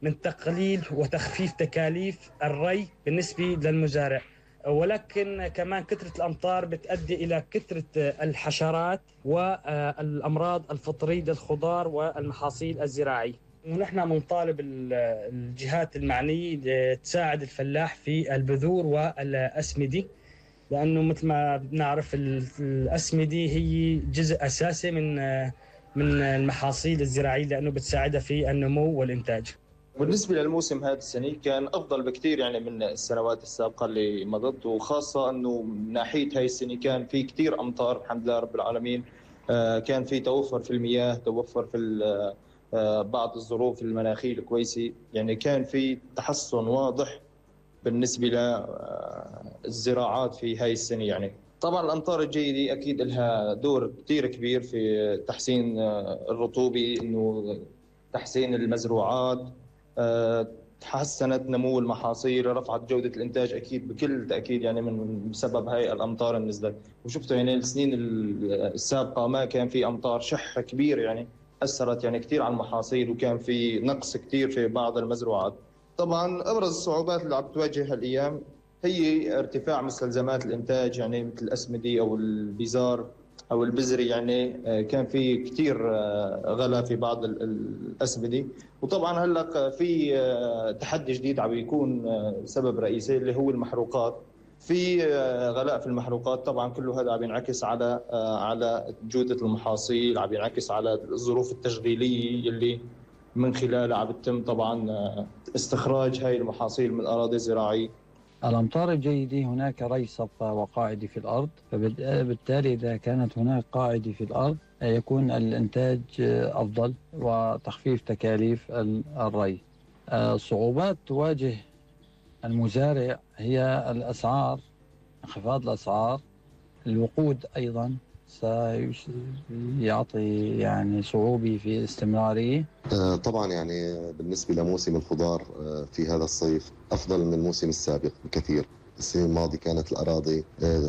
من تقليل وتخفيف تكاليف الري بالنسبة للمزارع، ولكن كمان كثرة الأمطار بتؤدي إلى كثرة الحشرات والأمراض الفطرية للخضار والمحاصيل الزراعية. ونحن بنطالب الجهات المعنية تساعد الفلاح في البذور والأسمدة، لأنه مثل ما بنعرف الأسمدة هي جزء أساسي من المحاصيل الزراعية، لأنه بتساعدها في النمو والإنتاج. بالنسبة للموسم هذا السنة كان أفضل بكتير يعني من السنوات السابقة اللي مضت، وخاصة أنه من ناحية هاي السنة كان في كتير أمطار الحمد لله رب العالمين. كان في توفر في المياه، توفر في بعض الظروف المناخية الكويسة، يعني كان في تحسن واضح بالنسبة للزراعات في هاي السنة. يعني طبعا الأمطار الجيدة أكيد لها دور كتير كبير في تحسين الرطوبة، إنه تحسين المزروعات، تحسنت نمو المحاصيل، رفعت جودة الإنتاج أكيد بكل تأكيد، يعني من بسبب هاي الأمطار اللي نزلت. وشفتوا يعني السنين السابقة ما كان في أمطار شح كبير، يعني أثرت يعني كتير على المحاصيل، وكان في نقص كتير في بعض المزروعات. طبعا أبرز الصعوبات اللي عم تواجه هالأيام هي ارتفاع مستلزمات الإنتاج، يعني مثل الأسمدة أو البزار أو البزري. يعني كان في كتير غلا في بعض الأسمدة. وطبعا هلأ في تحدي جديد عم يكون سبب رئيسي اللي هو المحروقات. في غلاء في المحروقات، طبعا كله هذا عم ينعكس على جودة المحاصيل، عم ينعكس على الظروف التشغيلية اللي من خلالها عم يتم طبعا استخراج هاي المحاصيل من الأراضي الزراعية. الأمطار الجيدة هناك ري صفة وقاعدة في الأرض، فبالتالي إذا كانت هناك قاعدة في الأرض يكون الإنتاج أفضل وتخفيف تكاليف الري. صعوبات تواجه المزارع هي الأسعار، انخفاض الأسعار، الوقود أيضا سيعطي يعني صعوبة في الاستمرارية. طبعا يعني بالنسبة لموسم الخضار في هذا الصيف أفضل من الموسم السابق بكثير. السنة الماضية كانت الأراضي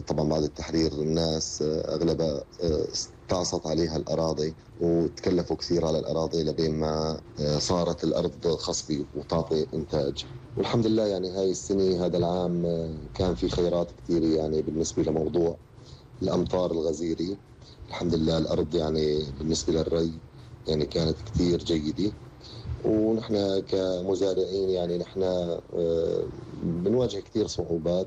طبعا بعد التحرير الناس أغلبها استعصت عليها الأراضي وتكلفوا كثير على الأراضي لبين ما صارت الأرض خصبة وتعطي إنتاج. والحمد لله يعني هاي السنة هذا العام كان في خيرات كثيرة يعني بالنسبة لموضوع الأمطار الغزيرة. الحمد لله الأرض يعني بالنسبة للري يعني كانت كثير جيدة. ونحن كمزارعين يعني نحن بنواجه كثير صعوبات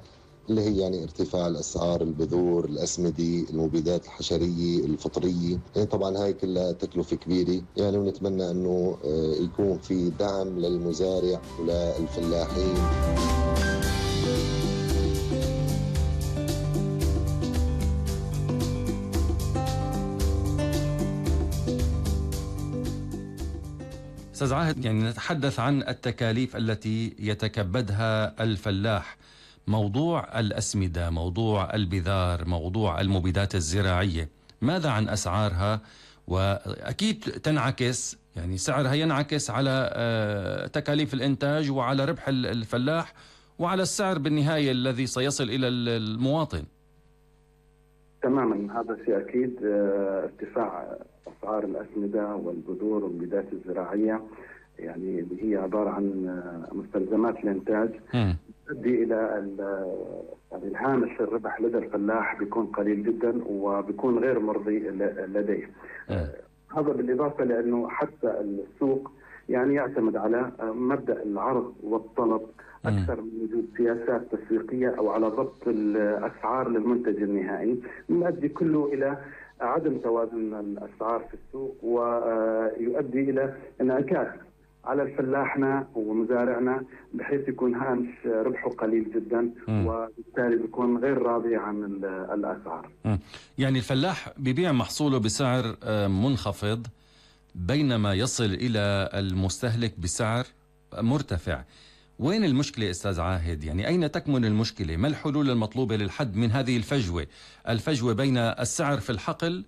اللي هي يعني ارتفاع الأسعار، البذور، الأسمدة، المبيدات الحشرية، الفطرية. يعني طبعا هاي كلها تكلفة كبيرة يعني، ونتمنى أنه يكون في دعم للمزارع وللفلاحين. أستاذ عاهد، يعني نتحدث عن التكاليف التي يتكبدها الفلاح، موضوع الأسمدة، موضوع البذار، موضوع المبيدات الزراعية، ماذا عن أسعارها؟ وأكيد تنعكس يعني سعرها ينعكس على تكاليف الإنتاج وعلى ربح الفلاح وعلى السعر بالنهاية الذي سيصل إلى المواطن. تماما، هذا شيء أكيد. ارتفاع أسعار الأسمدة والبذور والمبيدات الزراعية يعني اللي هي عبارة عن مستلزمات الإنتاج تؤدي إلى يعني الهامش الربح لدى الفلاح بيكون قليل جدا وبيكون غير مرضي لديه. هذا بالإضافة لأنه حتى السوق يعني يعتمد على مبدأ العرض والطلب أكثر من وجود سياسات تسويقية أو على ضبط الأسعار للمنتج النهائي، يؤدي كله إلى عدم توازن الأسعار في السوق، ويؤدي إلى انعكاس على الفلاحنا ومزارعنا بحيث يكون هامش ربحه قليل جدا وبالتالي بيكون غير راضي عن الأسعار. يعني الفلاح بيبيع محصوله بسعر منخفض بينما يصل إلى المستهلك بسعر مرتفع. وين المشكلة أستاذ عاهد؟ يعني أين تكمن المشكلة؟ ما الحلول المطلوبة للحد من هذه الفجوة بين السعر في الحقل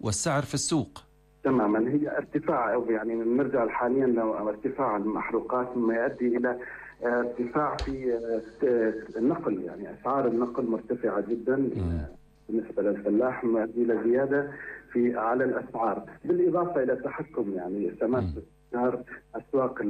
والسعر في السوق؟ تماما، هي ارتفاع أو يعني نرجع حاليا لارتفاع المحروقات مما يؤدي إلى ارتفاع في النقل، يعني أسعار النقل مرتفعة جدا بالنسبة للفلاح، يؤدي إلى زيادة على الأسعار، بالإضافة إلى التحكم يعني تماس أسواق